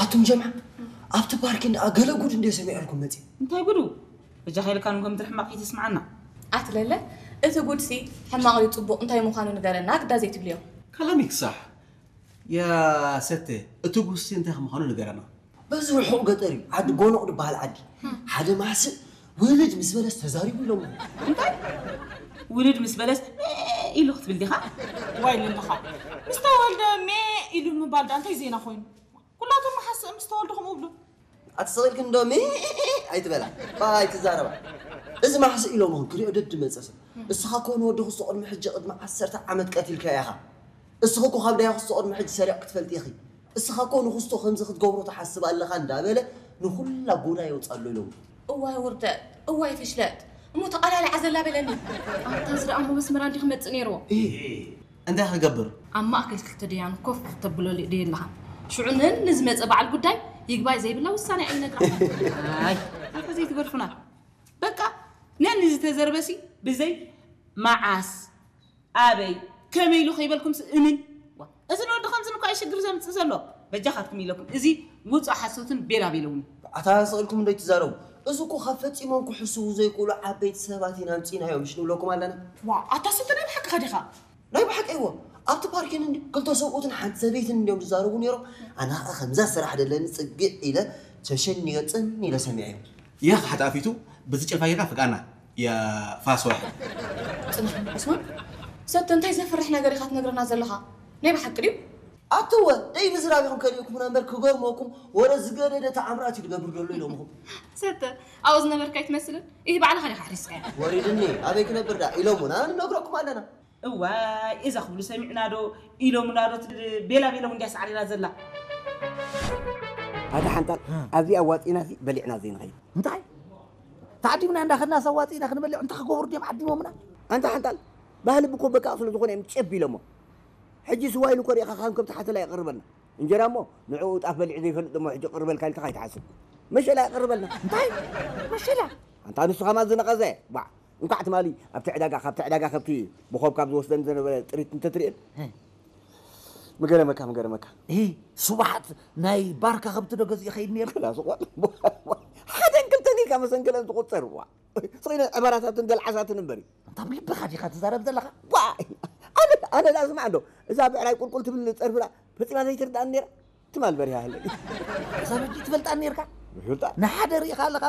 ኣቱም ጀምዓ ኣብቲ ፓርኪን ደኣ ገለ ጉድ እንደ ሰሚዐልኩም መጺ። እንታይ ጉዱ? በጃኻ ኢልካ ንጎም ትርሕማቕ ይትስምዓና። ኣትለለ እቲ ጉድሲ ሕማቕ እዩ ጽቡቕ እንታይ ምዃኑ ንገረና ግዳ ዘይትብልዮ። كلامك صح يا ستي. እቲ ጉድሲ እንታይ ምዃኑ ንገረና። በዚ ርሑቕ ገጠር እዩ ዓዲ ጎኖቕ ዝበሃል ዓዲ ሓደ ማሕስእ ውልድ ምስ በለስ ተዛሪቡ ኢሎም። እንታይ ውልድ ምስ በለስ ኢሉ ክትብል ዲኻ? ዋይ ልልኻ ምስ ተወልደ ሜ ኢሉ ምባል ዳ እንታይ ዜና ኮይኑ? ኩላቶም መሓስእ ምስ ተወልዱ ከምኡ ብሉ። ኣትሰቒልክን ዶ ሚ ኣይትበላ ኣይትዛረባ። እዚ ማሕስእ ኢሎምኹም ክሪኦ ደድ መፀ ሰብ። እስኻ ኮን ወዲ ክስቶ ቅድሚ ሕጂ ቅድሚ ዓሰርተ ዓመት ቀቲልካ ኢኻ። እስኺ እኮ ካብ ዳያ ክስቶ ቅድሚ ሕጂ ሰሪቕ ክትፈልጢ ኢኺ። እስኻ እኮ ንክስቶ ከምዚ ክትገብሮ ትሓስብ ኣለኻ እንዳበለ ንኹላ ጎዳ የውፅኣሉ ኢሎም። እዋይ ውርደት፣ እዋይ ፍሽለት፣ እሞ ተቓላሊዓ ዘላ በለኒ። ኣንታ እዚ ደኣ እሞ መስመራ እንዲ ክመጽእ ነይርዎ። እንታይ ክገብር? ኣብ ማእከል ክልተ ደያኑ ኮፍ ተብሎ ደየለኻ። ሽዑ ነን ንዝመጸ በዓል ጉዳይ ይግባይ ዘይብላ ውሳኔ ኣይነግራ። ኣይ ኣታ ዘይትገርፉና በቃ ነን ዝተዘርበሲ ብዘይ መዓስ ኣበይ ከመይ ኢሉ ከይበልኩምስ እምን ዋ፣ እዚ ንወዲ ከምዚ ንኳ ሽግር ዘምፅእ ዘሎ በጃኻትኩም ኢለኩም እዚ ውፁእ ሓሶትን ቤላ ቤለውን። ኣታ ስቕ ኢልኩም እንዶ ይትዛረቡ። እዚ እኮ ካብ ፈጺሞም ክሕስቡ ዘይክእሉ ዓበይቲ ሰባት ኢና ኣምጺእናዮም ምሽ ንብለኩም ኣለና። ዋ ኣታ ስተ ናይ ብሓቅኻ ዲኻ? ናይ ብሓቂ እዎ ኣብቲ ፓርኪን እንዲ ክልተ ሰብኡትን ሓንቲ ሰበይትን እንዲዮም ዝዛረቡ ነይሮም። ኣነ ኸዓ ከምዛ ስራሕ ደለኒ ጽግዕ ኢለ ሸሸን ገጽን ኢለ ሰሚዐዮም። يا أخي حتى أفيتو بس تشوف هاي غافك أنا يا فاس واحد. ጽንሕ ዑስማን ሰተ እንታይ ዘፍርሕ ነገር ኢኻ ትነግረና ዘለኻ? ናይ ብሓቂ ድዩ? ኣትወ ደይ ምዝራብ ኢኹም ከሊእኩምና እምበር ክገርመኩም ወረ ዝገደደ ተኣምራት እዩ ዝገብር ዘሎ ኢሎምኹም። ሰተ ኣብኡ ዝነበርካ ኣይትመስልን ይህ ባዕልኻ ዲኻ ኣሕሪስካያ። ወሪድኒ ኣበይ ክነብር ዳ ኢሎሙና ንነግረኩም ኣለና። እዋይ እዛ ክብሉ ሰሚዕና ዶ ኢሎምና ዶ ቤላ ቤሎም እንዲያ ሳዕሪራ ዘላ። ኣታ ሓንጣል ኣብዚ ኣዋፂና ሲ በሊዕና ዘይንኸይድ እንታይ ተዓዲምና እንዳኸድና ሰዋፂና ክንበልዕ እንታይ ክገብሩ ድዮም ዓዲሞምና ኣንታ ሓንጣል ባህሊ ብኮበካ ስለ ዝኾነ እዮም ጨብ ኢሎሞ ሕጂ ስዋ ኢሉ ኮሪእኻ ከም ከብቲ ሓተላ ይቐርበልና እንጀራ እሞ ንዕኡ ጣፍ በሊዑ ዘይፈልጥ እሞ ሕጂ ቅርበልካ ኢልካ ከይትሓስብ መሸላ ይቐርበልና እንታይ መሸላ ኣንታ ንሱ ከማን ዝነቐዘ ባዕ እንኳዕ ትማሊ ኣብቲ ዕዳጋ ካብቲ ዕዳጋ ከብቲ ብኾብ ካብ ዝወስደን ዝነበረ ጥሪት እንተትርእየን ምገረመካ ምገረመካ እሂ ስብሓት ናይ ባርካ ከብቲ ዶ ገዚኡ ኸይድ ነይሩ ክላስ ቆል ሓደን ክልተን ኢልካ መሰንገለን ትቁፅር ዋ ስኺነ ዕባራታትን ገልዓሳትን እምበር እዩ እንታ ብልብኻ ዲኻ ትዛረብ ዘለኻ ዋ ኣነ ኣነ ዳ ስማዕ እንዶ እዛ ብዕራይ ቁልቁል ትብል ፀርፍላ ፈፂማ ዘይትርዳእኒ ነይራ ትማል በሪሃ ሃለ እዛ በጂ ትፈልጣ ነርካ ይፈልጣ ንሓደ ርኢኻ ኣለኻ